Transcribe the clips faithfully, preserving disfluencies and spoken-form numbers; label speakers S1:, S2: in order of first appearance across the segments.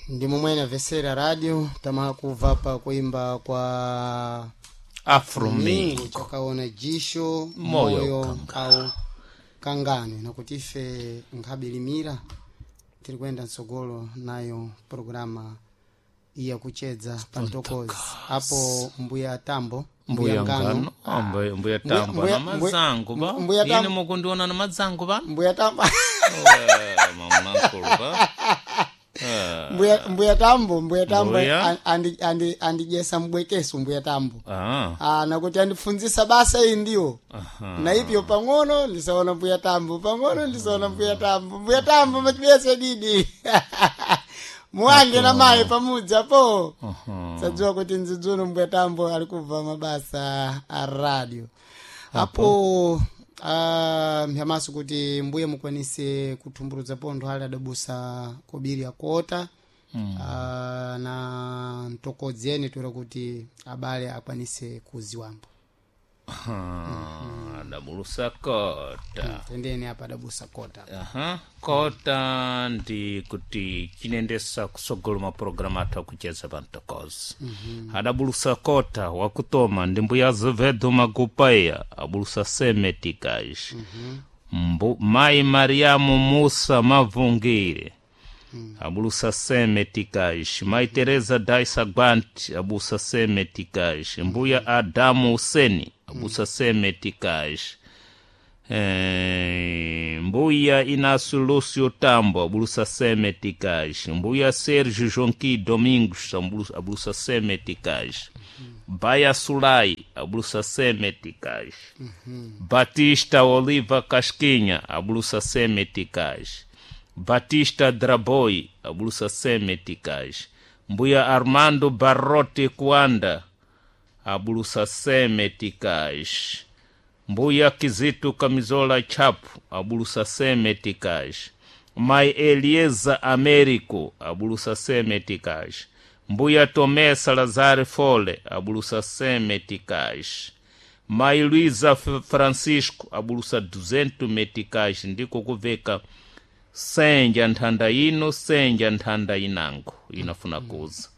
S1: Ndi momwe namvesera radio tamaha kubva pa kuimba kwa
S2: Afromingo
S1: Mingo chakaona jisho
S2: Moyo
S1: moyo
S2: kanga.
S1: au kangano nakuti ife nkhabilimira tiri kuyenda mtsogolo nayo programa iya kuchedza pa ntokozi apo mbuya tambo
S2: mbuya ngano Ah, mbuya mbuya tambo
S1: mbuya-
S2: na mazangu ba
S1: mbuya
S2: ine
S1: Tambo.
S2: mukundiona na mazangu ba
S1: mbuya tambo
S2: Eh, mama nkulu ba Eh,
S1: mbuya mbuya tambo mbuya tambo
S2: Mbuya.
S1: an- andi andi andijesa mbwekeso mbuya tambo
S2: ah
S1: ah nakuti andifunzisa basa iyi ndiwo
S2: aha
S1: na ipyo pang'ono ndisaona mbuya tambo pang'ono ndisaona mbuya tambo mbuya tambo machibese didi muwange na mayi pamudzi apo
S2: aha
S1: sadziwa kuti nzidzuno mbuya tambo ali kubva mabasa a radio apo ah, mphamaso kuti mbuye mukwanise kuthumbuludza pontho ali adabusa kobiri akota mm. na mtokodzi ene toera kuti abale akwanise kuziwambo
S2: Aha, adabulusa kota
S1: tendeni apa adabusa kota
S2: aha kota ndi kuti chinendesa kusogolo mapulogalamu athu akucheza pa mtokozi adabulusa kota wakutoma ndi mbuya azevedo magupaia abulusa semetikaji Mbu, mayi mariamu musa mavungire abulusa semetikaji mayi teresa daisa gwanti abusa semetikaji mbuya adamu useni abusa semetikaji Eh, mbuya Inácio Lúcio Tambo abulusa semeticais mbuya Sérgio Jonqui Domingos abulusa, abulusa semeticais Baia Sulai abulusa semeticais Batista Oliva Casquinha abulusa semeticais Batista Draboi abulusa semeticais mbuya Armando Barrote Kuanda abulusa semeticais mbuya kizitu kamizola chapu abulusa semeticais mai elieza américo abulusa semeticais mbuya tomé salazar fole abulusa semeticais mai luísa F- francisco abulusa duzentu meticais ndiko kuveka senja nthanda ino senja nthanda inango inafuna kuza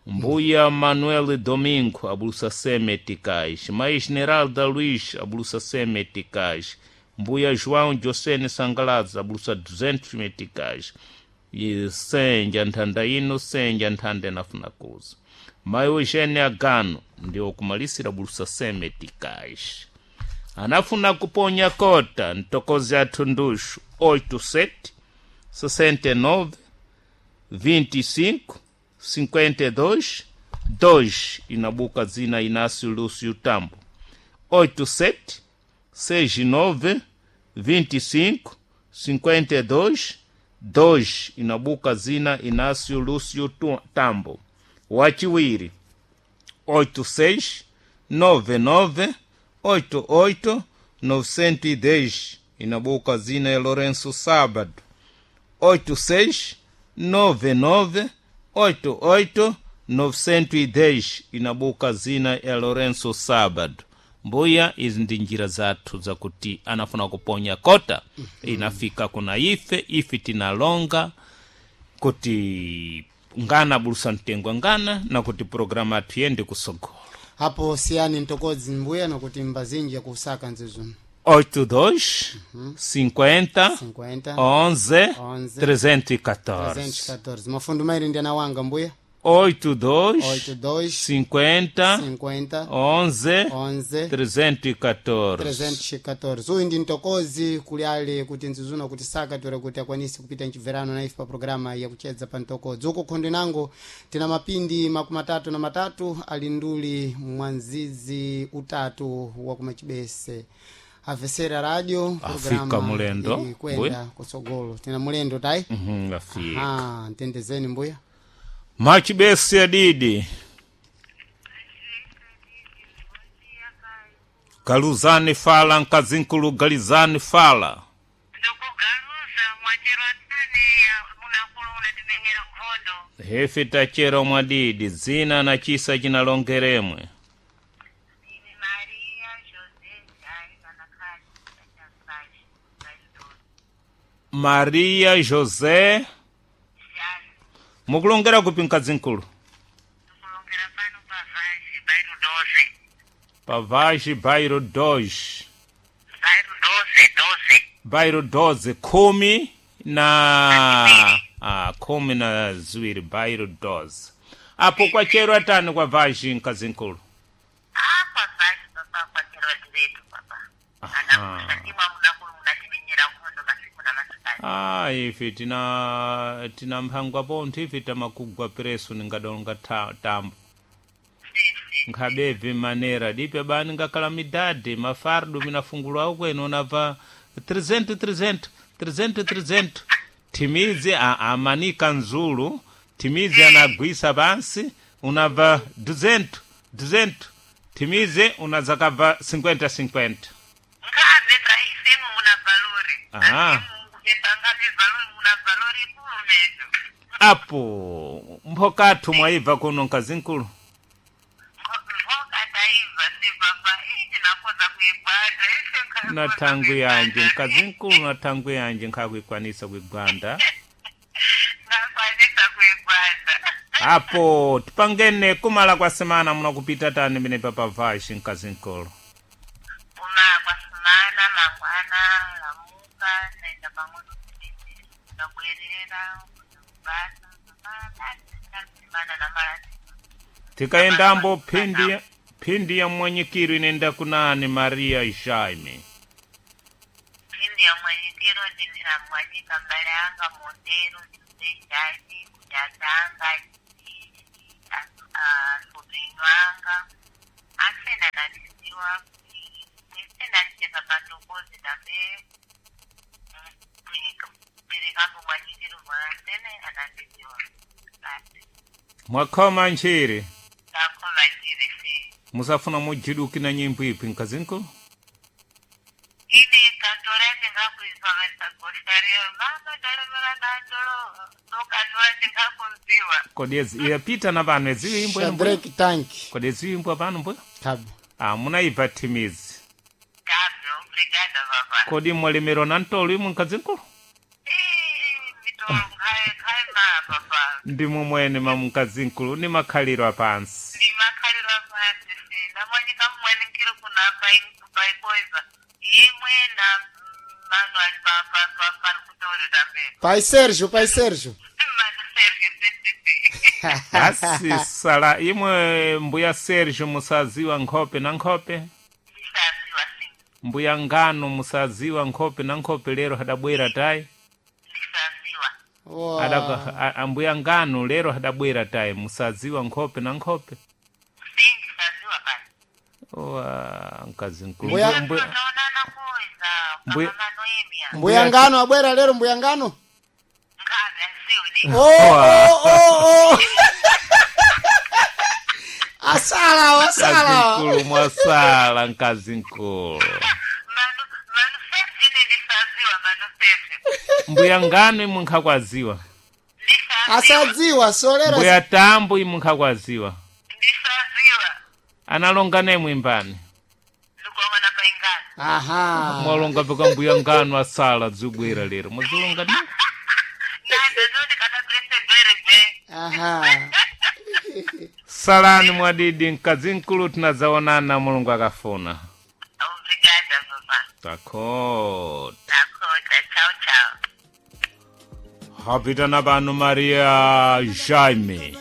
S2: mbuya manuel domingo abulusa semeticais mai generalda luís abulusa semeticais mbuya joão josene sangalaza abulusa duzentos meticais e senja nthanda ino senja nthanda inafuna kuza mai eugênia agano ndiwo kumalisira abulusa semeticais anafuna kuponya kota ntokozi athu nduxu oito sete sessenta e nove vinte e cinco cinquenta e dois dois inabuka zina Inácio Lúcio Tambo oito sete sessenta e nove vinte e cinco cinquenta e dois dois inabuka zina Inácio Lúcio Tu- Tambo wachiwiri oito seis nove nove oito oito novecentos e dez inabuka zina ya Lourenço Sábado oito seis nove nove oito oito novecentos e dez inabuka zina ya Lourenço Sábado. Mbuya izi ndi njira zathu zakuti anafuna kuponya kota inafika kuna ife ife tinalonga kuti ngana abulusa mtengo ngana na kuti programa athu yende kusogolo.
S1: Apo siyani ntokodzi mbuya nakuti mbazinji yakusaka nzizuno.
S2: oitenta e dois cinquenta
S1: cinquenta
S2: onze
S1: onze
S2: trezentos e catorze.
S1: trezentos e catorze mafundo mairi ndi anawanga mbuya.
S2: oitenta e dois
S1: oitenta e dois
S2: cinquenta
S1: cinquenta
S2: onze
S1: onze
S2: trezentos e catorze.
S1: trezentos e catorze uyu ndi mtokozi kuli ali kuti nzizuna kuti saka tora kuti akwanise kupita mchibverano na ife pa programa yakuchedza pa mtokozi uko khondo nango tina mapindi makumi atatu na matatu ali nduli mwanzizi utatu wa kumachibese avesera radio.
S2: Afika
S1: Programa
S2: mulendo,
S1: ili kwenda
S2: mbuya.
S1: kutsogolo tina mulendo tayi.
S2: Uhum, afika
S1: Ah, ntendezeni mbuya.
S2: Machibese adidi galuzani fala nkazinkulu galizani fala.
S3: Ndikugaluza mwachero atane munakulu unatimenyera nkhondo.
S2: Hefe tachera mwadidi dzina na chisa chinalongeremwe.
S3: Ine Maria José Jai Manakali Chachasaji
S2: Maria José
S3: Jai.
S2: Mukulongera kupi mkazinkulu?
S3: Ndikulongera pano pa Vaji bairro doze.
S2: Pavaji bairo doze.
S3: Bairro doze, doze.
S2: Bairo doze khumi na ah, khumi na ziwiri bairo doze. Apo kwachero atani kwa vaji mkazinkulu?
S3: Ah, kwa Vaji papa kwacherwa direto papa. Anakusa ndimwa munakulu munatimenyera nkhondo masiku na masikati.
S2: Ah, ife tina tina mphangwa pontho ife tamakugwa preso ningadonga ta, tambo
S3: Si, si.
S2: nkhabevi manera dipe bani ngakhala midade mafardo minafungulwa kwenu unabva trezentu trezentu trezentu trezentu thimidzi a- amanika nzulu thimidzi anagwisa pansi unabva duzentu duzentu thimidzi unadzakabva cinquenta cinquenta.
S3: Ngabe taisemu muna valori.
S2: Aha.
S3: Asimu ngabe valori muna valori ikulu mezo.
S2: Apo mphokathu mwaibva kuno nkazinkulu?
S3: Mvoka taiva si papa iji nakoza kuibata. Ise nkakoza
S2: Na thangu yanje
S3: kuibata.
S2: nkazinkulu, na thangu yanje nkhakuikwanisa kuigwanda.
S3: Nakwanisa kuibata.
S2: Apo tipangene kumala kwa semana munakupita tani mene papavaxi nkazinkulu?
S3: Uma kwasimana mangwana lamuka naenda pang'ono kumiti ndabwerera kubasa papa na mara.
S2: Tikaendambo phindi ya- phindi ya mwanyikiro inenda kunani Maria Jaime?
S3: Phindi ya mwanyikiro ndinamwanyika mbale anga Montero ndisejani kunyatanga asopinyo anga asena nandisiwa isenacheka patokozi tambe perekambo mwanyikiro mwasene anandisiwa basi.
S2: Mwakhoma ntchire.
S3: Takhoma njiri si.
S2: Musafuna mujiduki na nyimbo ipi nkazinkulu?
S3: Ini kantora tingakuizwa gostaria mama ndalemera nandolo tokantora tingakunziwa.
S2: Kodi ezi- iyapita na pano eziyo imbwa ino mbuya?
S1: Shadrack Tank.
S2: Kodi eziyo imbwa pano mbuya?
S1: Kabe.
S2: Ah, munaibva thimizi.
S3: Kabe, obrigada papa.
S2: Kodi mwalemerwa na ntolo imwe nkazinkulu?
S3: Eh, mitolo nkhaye nkhaye ma papa.
S2: Ndimwe mwene mamkazinkulu ni makhaliro apansi.
S3: Ndi makhaliro apansi si ndamwanyika mmweni nkiri kuna paikoiza imwe na manu ali pari kutori tambe.
S1: Pai Sérgio, pai Sérgio.
S3: Manu Sergio sisisi.
S2: Asi sala imwe mbuya Sergio musaziwa nkhope na nkhope?
S3: Ndisaziwa si.
S2: Mbuya ngano musaziwa nkhope na nkhope lero hadabwera tayi?
S3: Ndisaziwa.
S1: Wa-
S2: Adaka- a- a- ambuya ngano lero hadabwera tayi musaziwa nkhope na nkhope?
S3: Si ndisaziwa basi.
S2: Wa mkazi mkulu.
S1: Mbuya-
S2: Mbuya-
S3: Taonana kuiza
S2: Mbuya-
S3: kama Noemia.
S1: Mbuya ngano abwera lero mbuya ngano.
S3: Ngabe asiwe ni.
S1: Oh, oh, oh, oh. Asala, asala.
S2: Mkazi mkulu mwasala mkazi mkulu.
S3: Manu Manu Sergio ni ndisaziwa Manu Sergio.
S2: Mbuya ngano imwe nkhakwaziwa.
S3: Ndisaziwa.
S1: Asadziwa solera.
S2: Mbuya tambo imwe nkhakwaziwa.
S3: Ndisaziwa.
S2: Analonga nemwe imbani.
S3: Ndikuona paingana.
S1: Aha.
S2: Mwalonga paka mbuya ngano asala dzibwera lero mwazilonga ni?
S3: Nando zoti kana prese gwere gwe.
S1: Aha.
S2: Salani mwadidi mkazi mkulu tinadzaonana Mulungu akafuna.
S3: Obrigada papa.
S2: Takota.
S3: Takota. Tchau tchau.
S2: Hapita na pano Maria Jaime.